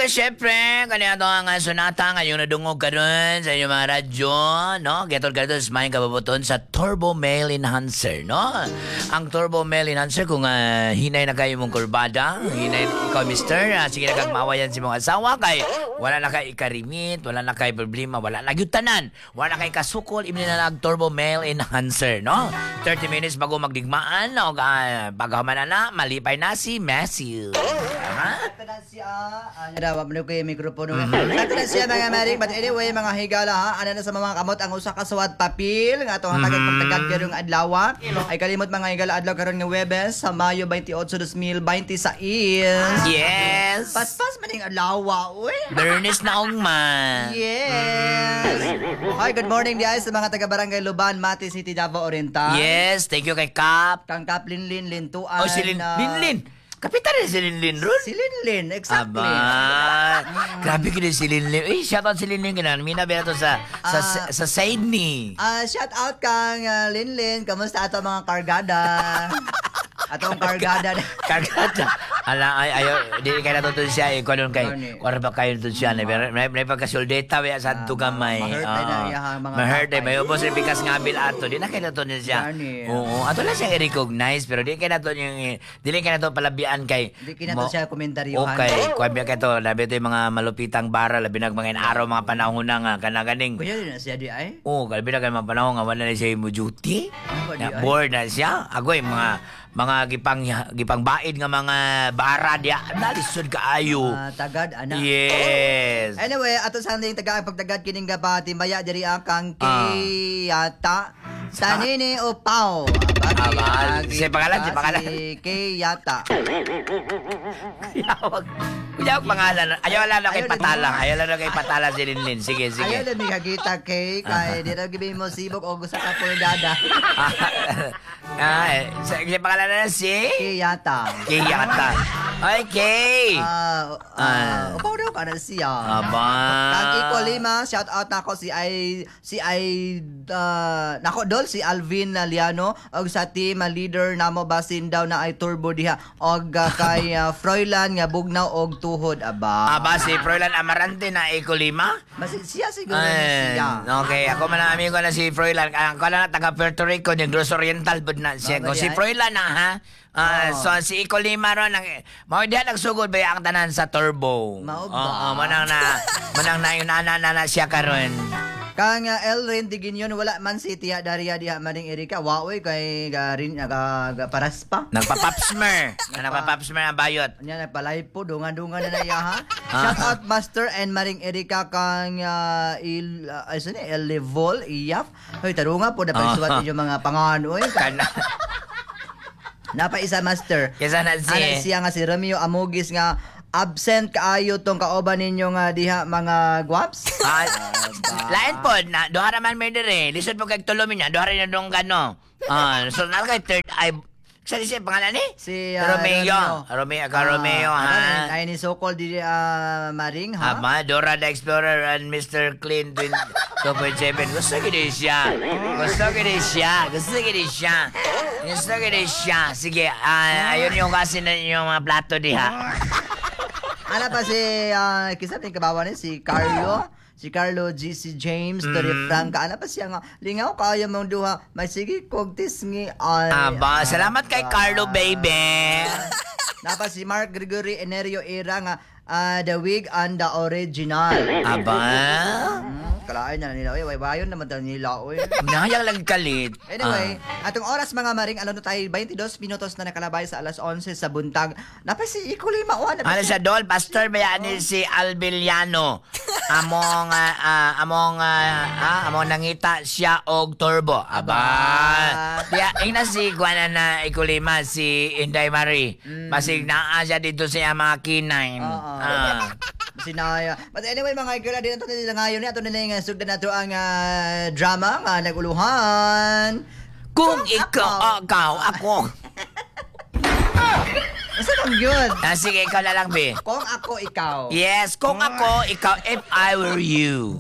Syempre, kani ato ang sonata ngayon nadungog karon sa inyong mga radyo, no? Getol karon sa maayong kabubut-on sa Turbo Male Enhancer, no? Ang Turbo Male Enhancer, kung hinay na kayo mong kurbada, hinay ikaw, mister, sige na kag maawayan si mong asawa kay wala na kay ikarimit, wala na kay problema, wala na gyud tanan, wala na kay kasukol, imni na nag Turbo Male Enhancer, no? 30 minutes bago magdigmaan, o paghaman na na, malipay na si Matthew. Ha? Ito na siya. Ano daw, wala ko yung mikropono. Ito na siya, mga maring. But anyway, mga higala ha. Ano na sa mga kamot ang usa ka suwat papel nga atong tagad pagtagad karong adlaw. Ay kalimot, mga higala, adlaw karon nga Webes sa Mayo 28, 2026. Yes! Paspas man ning adlaw, uy. Bernes na ugma. Yes. Hi, good morning di ay sa mga taga Barangay Luban, Mati City, Davao Oriental. Yes, thank you kay Kap. Kang Kaplinlin Lintuan. Oh, si Lin, Linlin. Kapitan rin si Linlin ron. Si Linlin, exactly. Aba, grabe kini si Linlin. Eh, shout out si Linlin kinan. Mina ba to sa sa Sydney. Ah, shout out kang Linlin. Kamusta ato mga kargada? Atong kargada. Kargada. Ala ay ayo di kay nato siya eh kuno kay Gani. kuno ba kayo to siya na may pagkasuldeta ba sa adto gamay. Ma-hurt ay na iyahang mga Ma-hurt ay kapay. may ubos rin pikas nga abil ato. Di na kay nato niya siya. Gani. Oo, ato lang siya i-recognize pero di kay nato yung dili kay nato palabian kay Di kay nato siya komentaryuhan. Okay, kuan biya kay to labi to yung mga malupitang bara labi nag mga araw mga panahon na nga kana ganing. Kuya din na siya di ay. Oo, kalbi na kay mga panahon nga wala na siya mo duty. Ano ba di Na ay? bored na siya. Agoy mga mga gipang gipangbaid nga mga bara diya. Nalisod kaayo. Ah, tagad ana. Yes. Anyway, ato sa anding taga ang pagtagad kining gabati maya diri ang kang Kiyata. Tanini o Pao. Aba, si pangalan, si pangalan. Si Kiyata. Kuyawag. Kuyawag pangalan. Ayaw lang na kay Ayaw na- Patala. Ayaw lang na kay Patala si Linlin. Sige, sige. Ayaw lang mikakita kay kay di raw gibi mo sibok o gusto ka pulgada. Ah, eh, si pangalan na si Kiyata. Kiyata. Okay. Ah, ah, upaw daw ka na siya. Aba. Kang Iko Lima, shout out nako si ay nako dol si Alvin Liano og sa team leader namo basin daw na ay turbo diha og kay Froilan nga bugnaw og tuhod aba. Aba, si Froilan Amarante na Eko Lima. Basin siya siguro ni Ay, siya. okay, ako man ang amigo na si Froilan. Ang ko na taga Puerto Rico, Negros Oriental pud na siya. Aba, Kung di si ay. Froilan na ha. Ah, Oo. so si Iko Lima ron ang mao diha nagsugod ba ang tanan sa turbo. Mao ba? Oo, manang na yun na, na, na siya karon. Kang Elrin Diginyon wala man si Tia Daria diha maning Erika. Waoy kay garin ga, ga paraspa. Nagpa-papsmer. Nagpa-papsmer ang bayot. Nya nagpalay po dungan-dungan na na iya ha. Shout out Master and Maring Erika kang il ay sino Elevol Iyaf. Hoy tarunga po na pagsuwat ninyo mga pangan oy. Kana. Napaisa Master. Kaysa na si Ana siya nga si Romeo Amogis nga absent kaayo tong kauban ninyo nga diha mga guwaps. Ah, lain po na duha ra man may dire. Lisod po kay tulo niya, duha ra na dong kano. Ah, so na kay third eye. Sa siya pangalan ni? Si Romeo. Romeo, ka Romeo ha. Ay ni Sokol di Maring ha. Ama, Dora the Explorer and Mr. Clean 2.7. Gusto gini siya. Gusto gini siya. Gusto gini siya. Gusto gini siya. Sige, ayun yung kasi na yung mga plato diha. Ana pa si kisa ni kabawan ni si Carlo. Si Carlo G. C. James, Torre Franca. Ana pa siya nga, lingaw kaayo mong duha. May sige kog tisngi ay. Aba, salamat kay Carlo, baby. Napa si Mark Gregory Enerio Era nga the wig and the original. Aba. Kalain na nila. Uy, way bayon naman daw nila. Uy. Nahayang lang kalit. Anyway, atong oras mga maring, alam na tayo, 22 minutos na nakalabay sa alas 11 sa buntag. Napa si Iko Lima, oh, napa Ano siya dol, pastor ba ni si Albiliano. Among among among nangita siya og turbo. Aba. Diya ingna si kuana na ikulima si Inday Marie. Basig naa siya dito sa iyang mga kinain. Oo. Ah. Sinaya. But anyway, mga igala, di na ito nila ngayon. Ato nila yung sugdan nato ang drama nga naguluhan. Kung ikaw, ikaw, ako. Isa bang yun? Ah, sige, ikaw na lang, be. Kung ako, ikaw. Yes, kung ako, ikaw, if I were you.